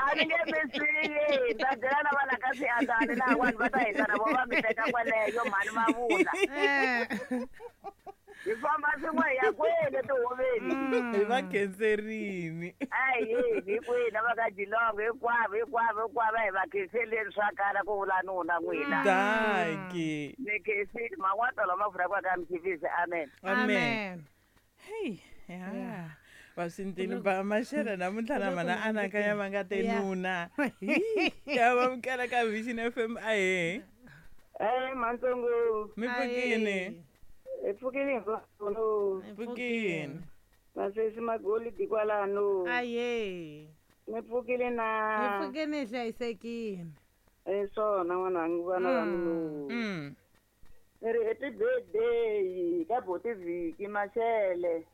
A ni nge mi siyi, ta byela na vana ka swiandani laha vanhu va ta hindza na vo va mi teka kwaleyo mhani va vula. Hi famba swin'we hi ya kwele tihoveni. Hi va khenserini. Ahi hinkwenu va ka Jilongo hinkwavo hinkwavo hinkwavo a hi va khenseleni swa kala ku vula nuna n'wina. Dankie. Ni khensile man'wana lama vulaka ka mkhivisi amen. Amen. Hey, ya. Vaswintini ba maxela namuntlha na mana anakanya va nga te nuna. Hi, ya va mukela ka Vision FM ahe. Eh, Mantsongo. Mi pfukini. Hi pfukile hinkwavo. Pfukini. Vasesi magolidi kwalano. Aye. Mi pfukile na. Hi pfukile hi hlayisekile. Eh, swona n'wananga vana va mina. Ni ri happy birthday ka boti Viki Mashele.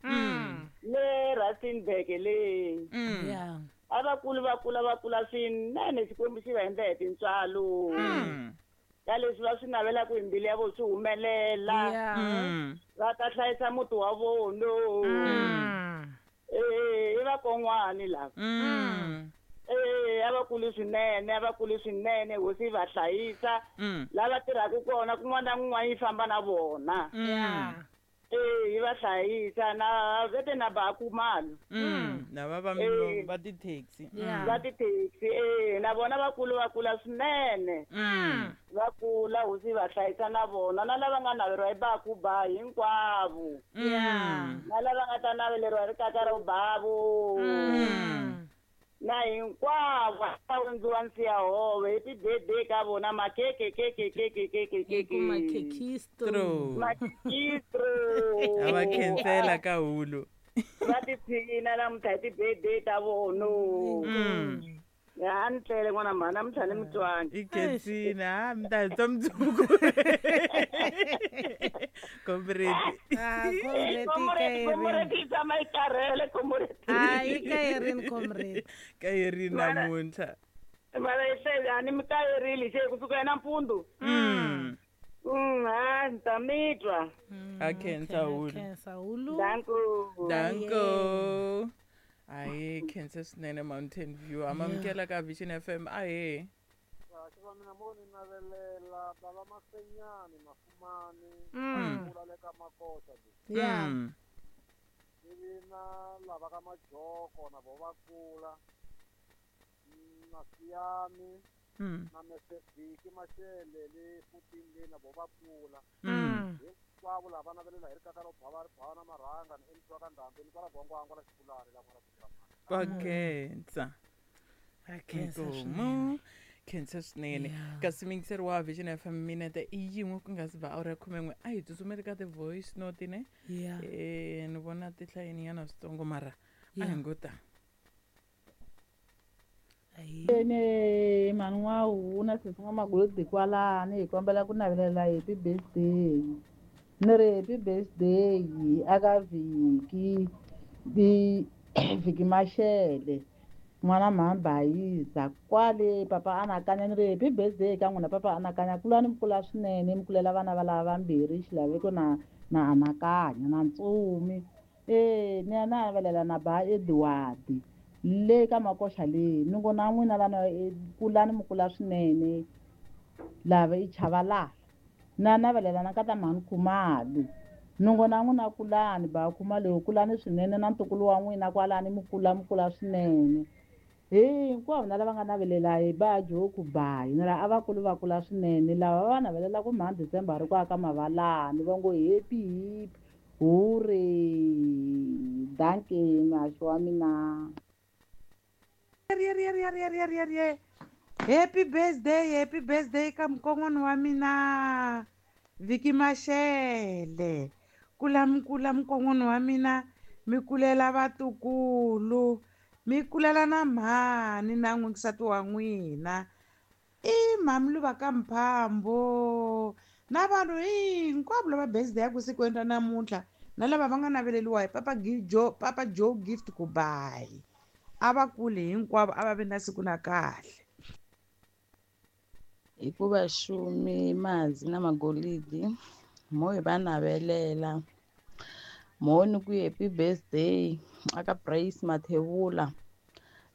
Le Rustenburg le. Yeah. A va kuli va kula va kula swinene Xikwembu xi va endla hi tintswalo. Ka leswi va swi navelaka hi mbilu ya vona swi humelela. Va ta hlayisa muti wa vona. Eh, i vakon'wani lava. Eh, a va kuli swinene, a va kuli swinene, hosi yi va hlayisa. Lava tirhaka kona kun'wana na kun'wana yi famba na vona. Eh, yi va hlayisa na vete na ba Khumalo. Lava va va ti-taxi. Va ti-taxi, eh, na vona va kula va kula swinene. Va kula hosi yi va hlayisa na vona na lava nga naveriwa hi baku ba hinkwavo. Na lava nga ta naveleriwa hi rikaka ra babu. Na hinkwavo va hundziwa nsiya hove happy birthday ka vona makeke keke keke keke keke. Makekistro. Makekistro. A va khensela ka hulu. Va tiphina namuntlha hi ti-birthday ta vona. A ni tlele n'wana mhani namuntlha ni mutwangi. I khensile ha mi ta hi twa mundzuku. Comrade. Ah, comrade Comrade, comrade yi tshama yi karhele comrade. Ah, yi kayerini comrade. Kayerini namuntlha. Mara yi hlele a ni mi kayerile xe kusuka hi nampundzu. Ha ni ta mi twa. A khensa hulu. Khensa hulu. Danko. Danko. Ahe khensa swinene Mountain View. Amamukela ka Vision FM ahe. Kahle va mina mo ni navelela bava Mafenyani Mafumani kula le ka Makosa le. Yeah. Ivi na lava ka Majoko na vo va kula na Siyami na Mesevhiki Mashele le Futini le na vo va kula. Hinkwavo lava navelela hi rikaka ro bava ri bava na marhanga ni endliwa ka ndhambi ni kwala Gwangwangwa la Xipulani la n'wana Va khensa. Khensa Inkomu. Khensa swinene. Kasi miyingiseri wa Vision FM minete i yin'we ku nga si ba awara ya 11 a hi tsutsumeli ka ti-voice note ne. Yeah. Eh, ni vona ti hlayeninyana switsongo mara a hi ngo ta. Ene mhani wa huna sesi n'wamagolodi kwalani hi kombela ku navelela happy birthday. Ni ri happy birthday aka Vhiki Vhiki Mashele n'wana mhani Bayiza kwale papa anakanya ni ri happy birthday ka n'wina papa anakanya kulani mi kula swinene mi kulela vana va lava vambirhi xilaveko na na anakanya na ntsumi. Eh, ni ya navelela na ba Edward le ka Makoxa le ni ngo na n'wina lana kulani mi kula swinene lava i Chavalala na navelela na ka ta mhani Khumalo ni ngo na n'wina kulani ba Khumalo kulani swinene na ntukulu wa n'wina kwalani mi kula mi kula swinene hinkwavo na lava nga navelela hi ba Joku Bayi ni ra a va kuli va kula swinene lava va navelela ku mhani December ri ku aka mavalani va ngo happy happy hooray dankie muhaxi wa mina. Happy birthday ka mukon'wana wa mina Vhiki Mashele. Kula mi kula mukon'wana wa mina mi kulela vatukulu mi kulela na mhani na n'winsati wa n'wina i mhami luva ka Mphambo na vanhu hinkwavo lava birthday ya ku sikwini ra namuntlha na lava va nga naveleriwa hi Papa Joe Gift Kubayi. A va kuli hinkwavo a va vi na siku na kahle. Hikuva xumi mazi na magolidi mo hi va navelela mo ni ku happy birthday aka Praise Mathebula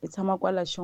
i tshama kwala